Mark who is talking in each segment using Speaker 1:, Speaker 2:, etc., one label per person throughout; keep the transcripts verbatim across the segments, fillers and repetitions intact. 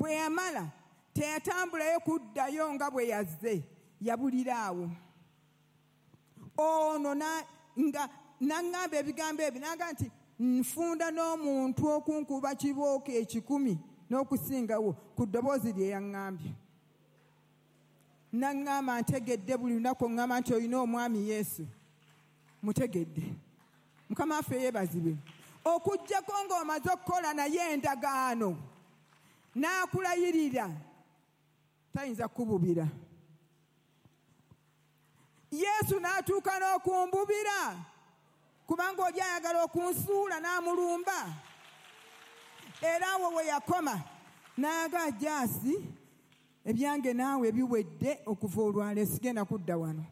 Speaker 1: Bwe yamala teyatambulayo kuddayo nga bwe yazze, yabulira awo. Ono nga naŋŋamba ebigambo ebyo n'agamba nti nfunda n'omuntu okunkuba kibooko ekikumi n'okusingawo ku ddoboozi lye yaŋŋambye. Naŋŋamba ntegedde buli lunaku ŋŋamba nti olina omwami Yesu. Mutegedde. Mukama waffe yeebazibwe. Okuggyako ng'omaze okukola naye endagaano n'akulayirira tayinza kukububira. Yesu n'atuuka n'okumbubira kubanga oli ayagala okunsuula n'amulumba. Era awo we yakoma n'aga Jaasi ebyange naawe biwedde okuva olwaleero sigenda kudda wano.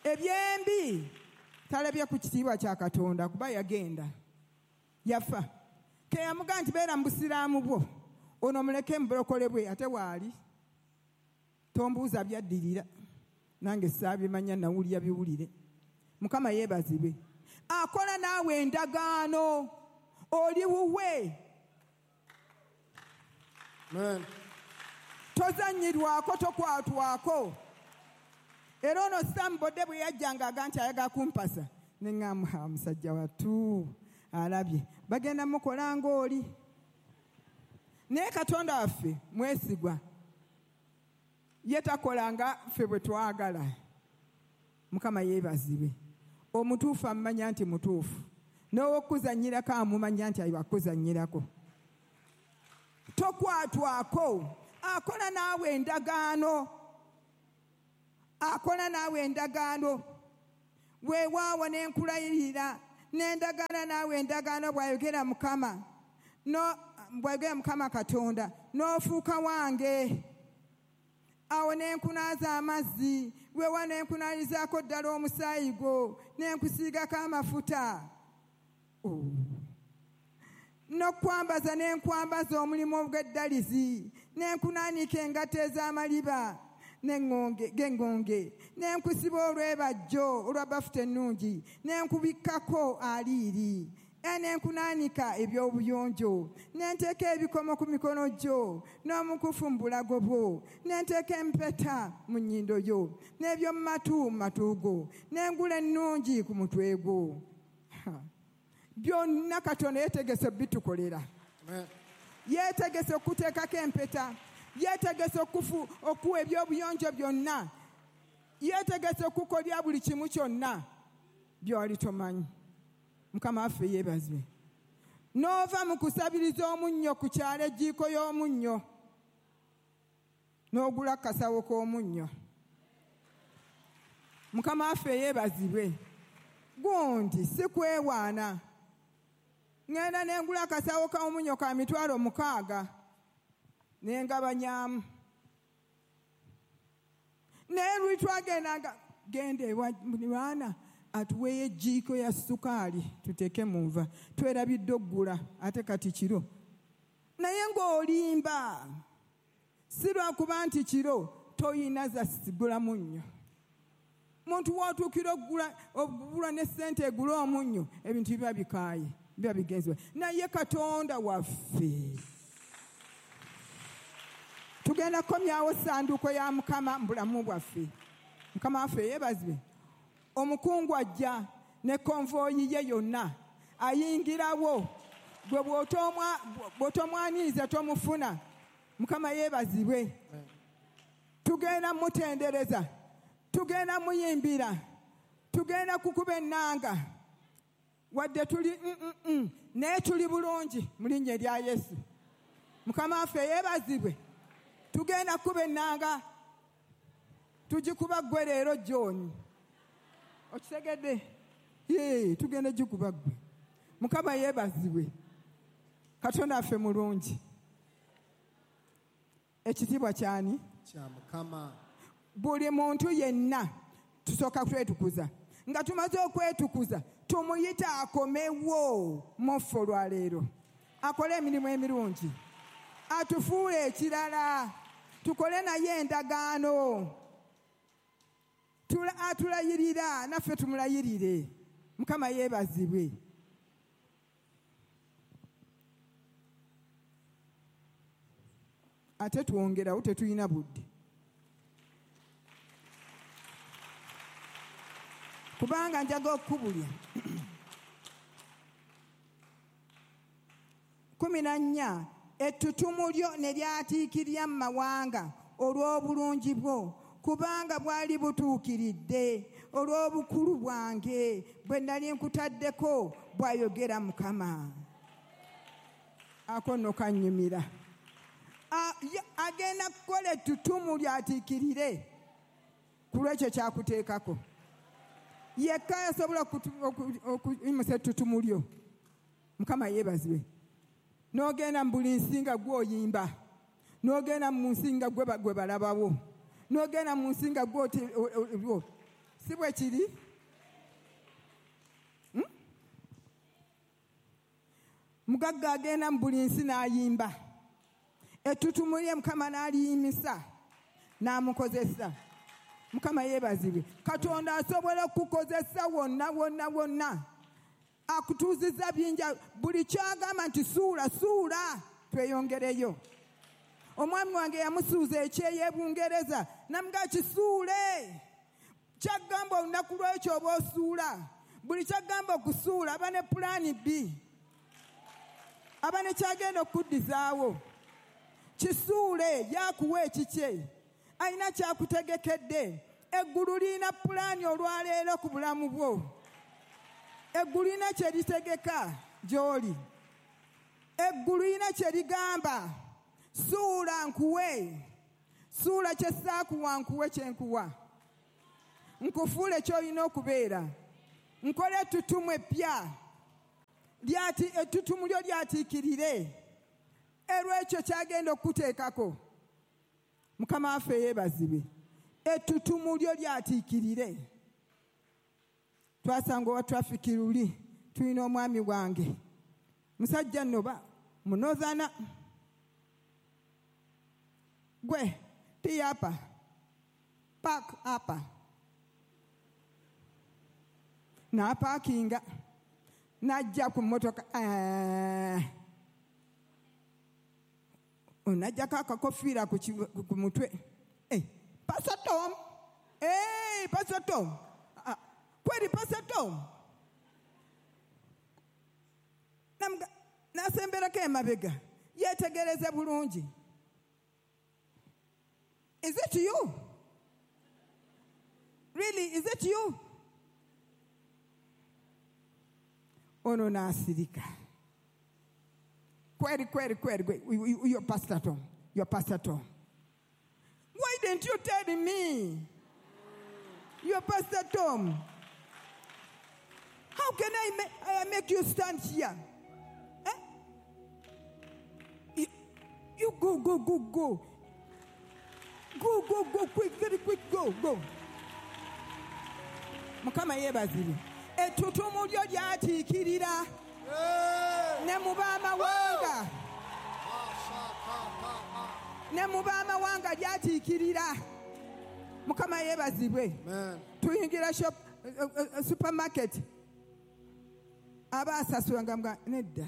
Speaker 1: Ebyembi talabye ku kitiibwa kya Katonda kuba yagenda yafa. Ke yamugamba nti beera mu busiraamu bwo ono muleke mu bulokole bwe ate waali tombuuza byaddirira nange saabimanya nawulira biwulire. Mukama yeebazibwe. Akola naawe endagaano oli wuwe.
Speaker 2: Amen.
Speaker 1: Tozannyirwako tokwatwako. Era ono Sambodde bwe yajjanga aga nti ayagala kumpasa ne ŋŋamba musajja wattu alabye bagenda mukola ng'oli. Naye Katonda waffe mwesigwa, ye takola nga ffe bwe twagala. Mukama yeebazibwe. Omutuufu amumanya nti mutuufu, n'owokuzannyirako amumanya nti akuzannyirako. Tokwatwako. Akola naawe endagaano, akola naawe endagaano. Weewaawo ne nkulayirira n'endagaana naawe endagaano bw'ayogera Mukama no bw'ayogera Mukama Katonda n'ofuuka wange. Awo ne nkunaaza amazzi, weewa ne nkunaalizaako ddala omusaayi gwo ne nkusiigako amafuta. Oh. N'okwambaza ne nkwambaza omulimu gw'eddalizi ne nkunaanika engatto ez'amaliba n'engonge g'engonge ne nkusiba olwebajjo olwa bafuta ennungi ne nkubikkako aliiri ne nkunaanika eby'obuyonjo ne nteeka ebikomo ku mikono gyo n'omukufu mu bulago bwo ne nteeka empeta mu nnyindo yo n'eby'omu matu mu matu go n'engula ennungi ku mutwe gwo. Byonna Katonda yeetegese bitukolera. Yeetegese okuteekako empeta, yeetegese okufu okuwa eby'obuyonjo byonna, yeetegese okukolya buli kimu kyonna by'oli tomanyi. Mukama waffe yeebazibwe. N'ova mu kusabiriza omunnyo ku kyalo ejjiiko y'omunnyo n'ogula akasawo k'omunnyo. Mukama waffe yeebazibwe. Gundi si kwewaana. Ŋŋenda ne ngula akasawo k'omunnyo ka mitwalo mukaaga ne ngabanyaamu. Naye luli twagendanga genda ewa muliraana atuweeyo ejjiiko ya sukaali tuteeke mu nva, twerabidde oggula ate kati kiro. Naye ng'olimba si lwakuba nti kiro toyina za sigula munnyo. Muntu w'otuukira oggula okugula ne ssente egula omunnyo ebintu biba bikaaye biba bigenzebwa. Naye Katonda waffe tugenda kukomyawo ssanduuko ya Mukama mu bulamu bwaffe. Mukama waffe yeebazibwe. Omukungu ajja ne konvoyi ye yonna ayingirawo gwe bw'otomwaniriza tomufuna. Mukama yeebazibwe. Tugenda mutendereza, tugenda muyimbira, tugenda kukuba ennanga wadde tuli mm, mm, naye tuli bulungi mu linnya erya Yesu. Mukama waffe yeebazibwe. Tugenda kukuba ennanga, tugikuba ggwe leero John. Okitegedde? Yee, tugenda gikuba ggwe. Mukama yeebazibwe. Katonda waffe mulungi. Ekitiibwa kyani?
Speaker 2: Kya Mukama.
Speaker 1: Buli muntu yenna tusooka kwetukuza. Nga tumaze okwetukuza tumuyita akomewo mu ffe olwaleero, akole emirimu emirungi, atufuule ekirala, tukole naye endagaano, atulayirira naffe tumulayirire. Mukama yeebazibwe. Ate twongerawo tetulina budde. Kubanga njaga okukubulya. Kumi na nnya, ettutumu lyo ne lyatiikirira mu mawanga olw'obulungi bwo, kubanga bwali butuukiridde olw'obukulu bwange bwe nali nkutaddeko, bw'ayogera Mukama. Ako nno kannyumira. Agenda kukola ettutumu lyatiikirire ku lw'ekyo kyakuteekako. Yekka yasobola okuyimusa ettutumu lyo. Mukama yeebazibwe. N'ogenda mu buli nsi nga gw'oyimba, n'ogenda mu nsi nga gwe balabawo, n'ogenda mu nsi nga gw'o, si bwe kiri? Mugagga agenda mu buli nsi n'ayimba, ettutumu lye Mukama n'aliyimisa n'amukozesa. Mukama yeebazibwe. Katonda asobola okukozesa wonna wonna wonna. Akutuuziza bingi, buli kyagamba nti suula suula, tweyongereyo. Omwami wange yamusuuza ekyeyo e Bungereza, namuga kisuule. Kyagamba olunaku lw'ekyo oba osuula. Buli kyagamba okusuula aba ne pulaani B, aba ne kyagenda okuddizaawo. Kisuule, yakuwa ekikye, alina kyakutegekedde. Eggulu lirina pulaani olwaleero ku bulamu bwo. Eggulu lirina kye litegeka gy'oli. Eggulu lirina kye ligamba, suula nkuwe, suula kye saakuwa nkuwe kye nkuwa, nkufuule ky'olina okubeera, nkole ettutumu eppya, ettutumu lyo lyatiikirire erw'ekyo kyagenda okukuteekako. Mukama waffe yeebazibwe. Ettutumu lyo lyatiikirire. Twasanga owa traffic luli, tulina omwami wange musajja nno ba munozana gwe tiyapa park apa n'apaakinga n'ajja ku mmotoka, onajjako akakofiira ku mutwe. Pastor Tom, hey, Pastor Tom, kweli Pastor Tom. Nasemberako emabega, yeetegereze bulungi. Is it you? Really, is it you? Ono n'asirika. Kweli, kweli, kweli, kweli. You're Pastor Tom. You're Pastor Tom. Why didn't you tell me? You're Pastor Tom. How can I, ma- I make you stand here? Eh? You, you go, go, go, go. Go, go, go, quick, very quick, go, go. Mukama yeebazibwe. Ettutumu lyo lyatiikirira ne mu b'amawanga. Ne mu b'amawanga lyatiikirira. Mukama yeebazibwe. Tuyingira shop, uh, uh, supermarket. Aba asasula nga mga nedda.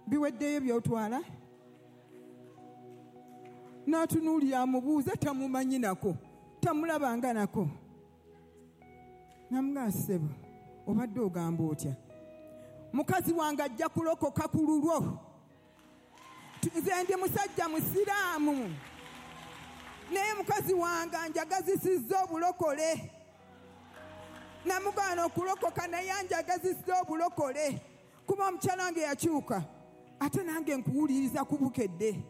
Speaker 1: Biweddeyo by'otwala. N'atunuulira amubuuza tamumanyi nako, tamulabanga nako. Namuga ssebo, obadde ogamba otya? Mukazi wange ajja kulokoka ku lulwo. Nze ndi musajja musiraamu, naye mukazi wange anjagazisizza obulokole. Namugaana okulokoka naye anjagazisizza obulokole. Kuba omukyala wange yakyuka, ate nange nkuwuliriza ku bukedde.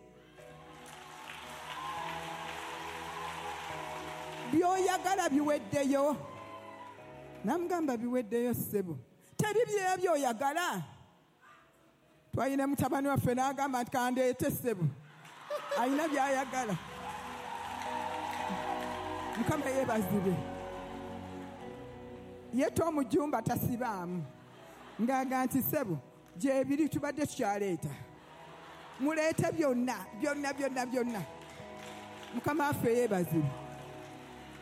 Speaker 1: By'oyagala biweddeyo. Namugamba biweddeyo ssebo. Teri byera by'oyagala. Twalina mutabani waffe n'agamba nti kandeete ssebo. Alina by'ayagala. Mukama yeebazibwe. Ye Tomujumba tasibaamu. Ng'aga nti ssebo gyebiri tubadde tukyaleeta. Muleete byonna, byonna, byonna, byonna. Mukama waffe yeebazibwe.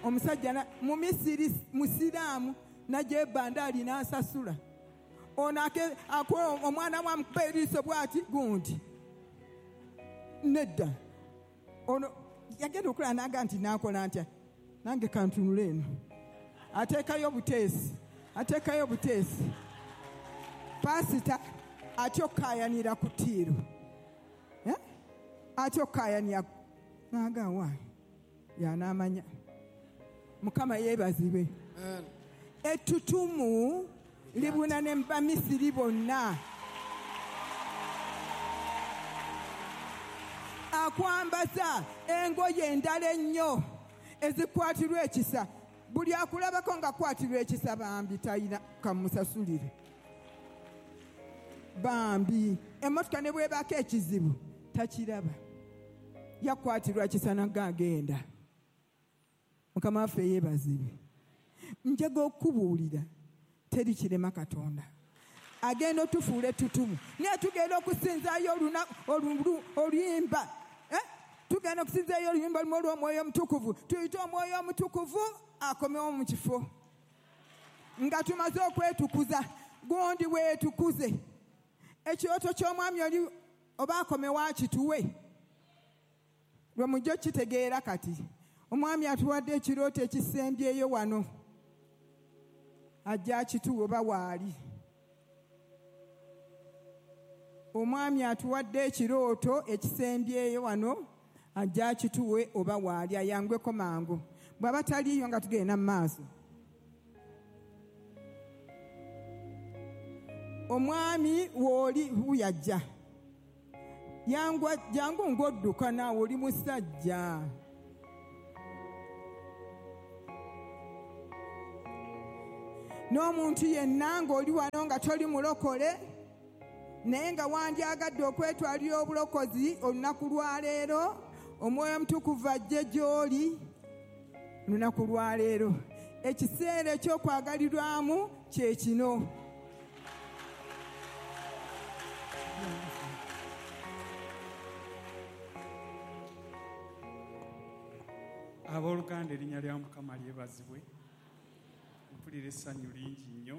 Speaker 1: Omusajja mu Misiri musiraamu najja ebbandaali n'asasula. Ono akola omwana wamukuba eriiso bw'ati gundi. Nedda ono yagenda okulaba n'agamba nti naakola ntya, nange kantunule eno. Ateekayo buteesi, ateekayo buteesi. Pasita atya okukaayanira ku ttiiru, atya okukaayanira n'agamba yanaamanya. Mukama yeebazibwe. Ettutumu libuna ne Bamisiri bonna. Akwambaza engoye endala ennyo ezikwatirwa ekisa. Buli akulabako ng'akwatirwa ekisa bambi talina kamusasulire. Bambi emmotoka ne bw'ebaako ekizibu takiraba, yakwatirwa kisa n'agenda. Mukama waffe yeebazibwe. Njaga okubuulira teri kirema Katonda. Agenda otufuula ettutumu, naye tugenda okusinzaayo oluyimba, tugenda okusinzaayo oluyimba lumu olw'Omwoyo Omutukuvu. Tuyite Omwoyo Omutukuvu akomewo mu kifo nga tumaze okwetukuza. Gundi weetukuze. Ekirooto ky'omwami oli oba akomewo akituwe, lwe mujja okitegeera kati. Omwami atuwadde ekirooto ekisembyeyo wano, ajja akituwe oba waali. Omwami atuwadde ekirooto ekisembyeyo wano, ajja akituwe oba waali, ayangweko mangu. Bw'aba taliiyo nga tugenda mu maaso. Omwami w'oli wuyajja, jangu ng'odduka naawe oli musajja. N'omuntu yenna ng'oli wano nga toli mulokole, naye nga wandyagadde okwetwalira obulokozi olunaku lwaleero, Omwoyo Omutukuvu ajje gy'oli olunaku lwaleero. Ekiseera eky'okwagalirwamu kye kino.
Speaker 3: Abooluganda, erinnya lya Mukama lyebazibwe. Mpulira essanyu lingi nnyo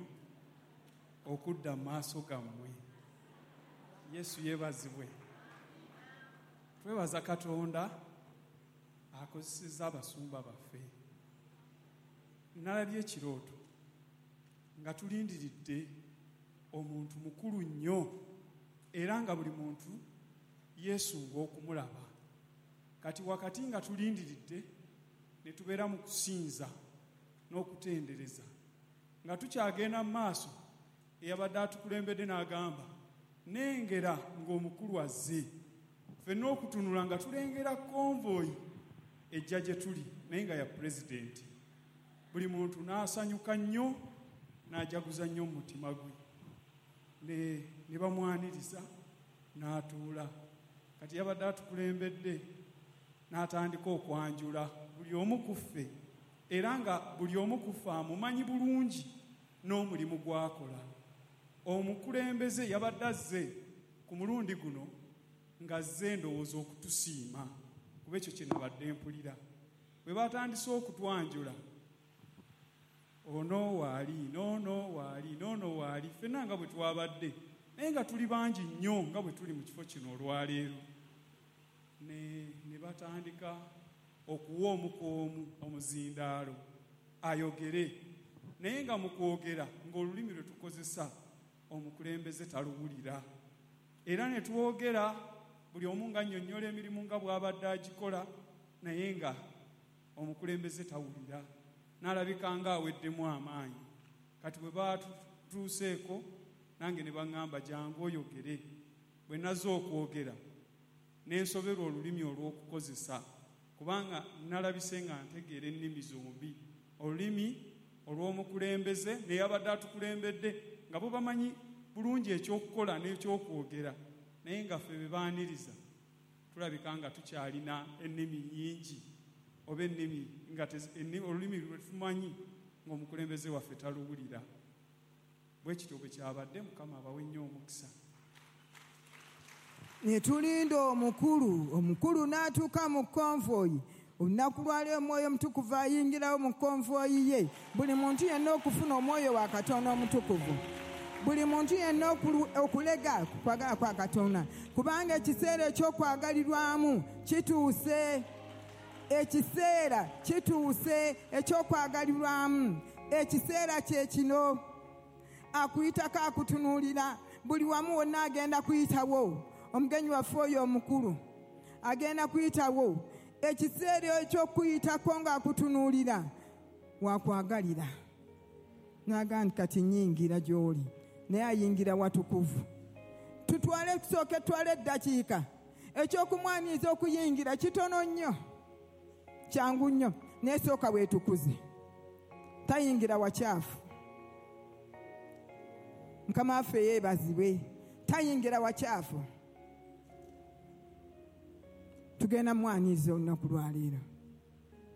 Speaker 3: okudda mu maaso gammwe. Yesu yeebazibwe. Twebaza Katonda akozesezza abasumba baffe. Nalabye ekirooto nga tulindiridde omuntu mukulu nnyo, era nga buli muntu yeesunga okumulaba. Kati wakati nga tulindiridde ne tubeera mu kusinza n'okutendereza, nga tukyagenda mu maaso, eyabadde atukulembedde n'agamba, nengera ng'omukulu azze. Ffenna okutunula nga tulengera konvoyi ejja gye tuli, naye nga ya pulezidenti. Buli muntu n'asanyuka nnyo, n'ajaguza nnyo mu mutima gwe, ne, ne bamwaniriza n'atuula. Kati yabadde atukulembedde n'atandika okwanjula buli omu ku ffe, era nga buli omu ku ffe amumanyi bulungi n'omulimu gw'akola. Omukulembeze yabadde azze ku mulundi guno ng'azze ndowooza okutusiima, kuba ekyo kye nabadde mpulira. Bwe batandise okutwanjula, ono waali, n'ono waali, n'ono waali, ffenna nga bwe twabadde, naye nga tuli bangi nnyo nga bwe tuli mu kifo kino olwaleero. Ne, ne batandika okuwa omu ku omu omuzindaalo ayogere, naye nga mu kwogera ng'olulimi lwe tukozesa omukulembeze taluwulira. Era ne twogera buli omu ng'annyonnyola emirimu nga bw'abadde agikola, naye nga omukulembeze tawulira, n'alabika ng'aweddemu amaanyi. Kati bwe baatutuuseeko nange ne baŋŋamba jangu oyogere. Bwe nazze okwogera ne nsoberwa olulimi olw'okukozesa, kubanga nalabise nga ntegeera ennimi zombi, olulimi olw'omukulembeze neyabadde atukulembedde nga bo bamanyi bulungi ekyokukola n'ekyokwogera, naye nga ffe be baaniriza tulabika nga tukyalina ennimi nnyingi oba ennimi nga olulimi lwe tumanyi ng'omukulembeze waffe taluwulira. Bwe kityo bwe kyabadde. Mukama abawe nnyo omukisa.
Speaker 1: Ne tulinda omukulu, omukulu n'atuuka mu konvoyi. Olunaku lwaleero Omwoyo Omutukuvu ayingirawo mu konvoyi ye, buli muntu yenna okufuna Omwoyo wa Katonda Omutukuvu. Buli muntu yenna okulega ku kwagala kwa Katonda, kubanga ekiseera eky'okwagalirwamu kituuse. Ekiseera kituuse eky'okwagalirwamu. Ekiseera kye kino. Akuyitako akutunuulira buli wamu wonna agenda kuyitawo. Omugenyi waffe oyo omukulu agenda kuyitawo. Ekiseera eky'okuyitako ng'akutunuulira wakwagalira. N'agamba nti kati nnyingira gy'oli, naye ayingira watukuvu. Tutwale tusooke tutwale eddakiika. Ekyokumwaniriza okuyingira kitono nnyo, kyangu nnyo, naye sooka weetukuze. Tayingira wakyafu. Mukama waffe yeebazibwe. Tayingira wakyafu. Tugenda mwaniriza olunaku lwaleero.